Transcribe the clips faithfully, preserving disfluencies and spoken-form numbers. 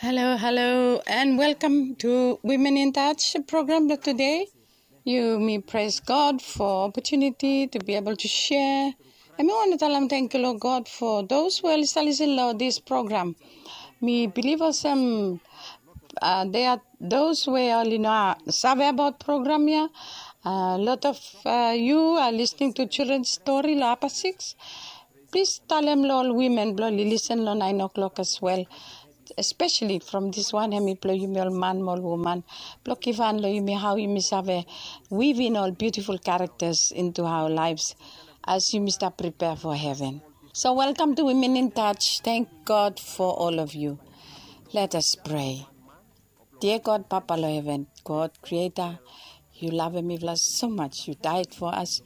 Halo, halo, and welcome to Women in Touch program blong tude. Yumi praise God for opportunity to be able to share. Hemi wantem talem tangkiu long God for those we oli stap lisin long this program. Mi bilif olsem, uh, there are those we oli no save abaot program ya. A lot of, uh, you are listening to children story long Upper Six. Plis talem long ol women blong oli lisen long nine o'clock as well, especially from this one, hemi blong yumi ol man mo ol woman, blong givhan long yumi hao yumi save weave in ol beautiful characters into our lives as yumi stap prepare for heaven. So welcome to Women in Touch. Thank God for all of you. Let us pray. Dear God, Papa long heven, God, Creator, you love mifala so much. You died for us.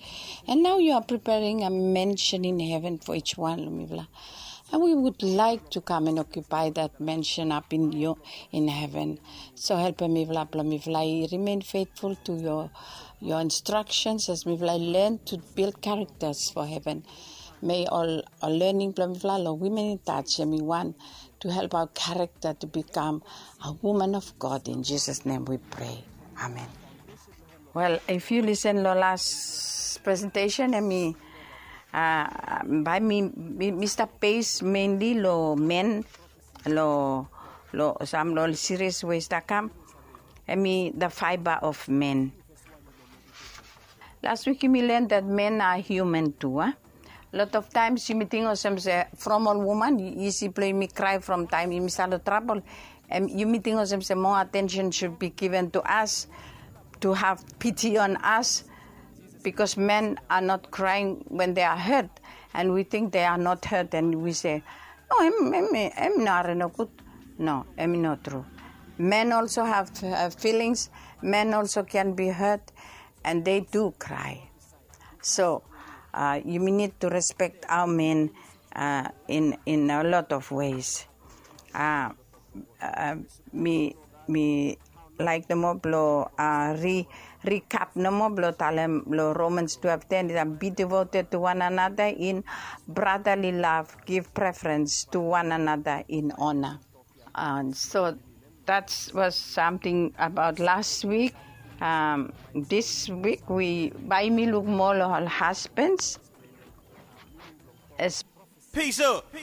And now you are preparing a mansion in heaven for each one long mifala. And we would like to come and occupy that mansion up in your, in heaven. So helpem mifala blong mifala i remain faithful to your, your instructions as mifala i learn to build characters for heaven. May ol, ol learning blong mifala long Women in Touch hemi wan to help our character to become a woman of God. In Jesus' name we pray. Amen. Well, if you listen long last presentation, hemi, uh, bae mi, mi, mi stap base mainly long men, long, long sam long ol series we i stap kam, hemi the fiber of men. Last week yumi learn that men are human too, a? Lot of times yumi ting olsem se from ol woman, isi blong yumi cry from taem yumi stap long trouble. And yumi ting olsem se more attention should be given to us, to have pity on us, because men are not crying when they are hurt, and we think they are not hurt, and we say, "No, hemi, hemi, hemi no hari nogud." No, hemi no tru. Men also have, uh, feelings. Men also can be hurt, and they do cry. So, uh, yumi need to respect our men, uh, in, in a lot of ways. Uh, uh, mi, mi laek nomo blong, uh, re-, recap nomo blong talem long Romans twelve ten, "Be devoted to one another in brotherly love, give preference to one another in honor." And so that was something about last week. Um, this week we, bae mi luk moa long ol husbands. As Peace up.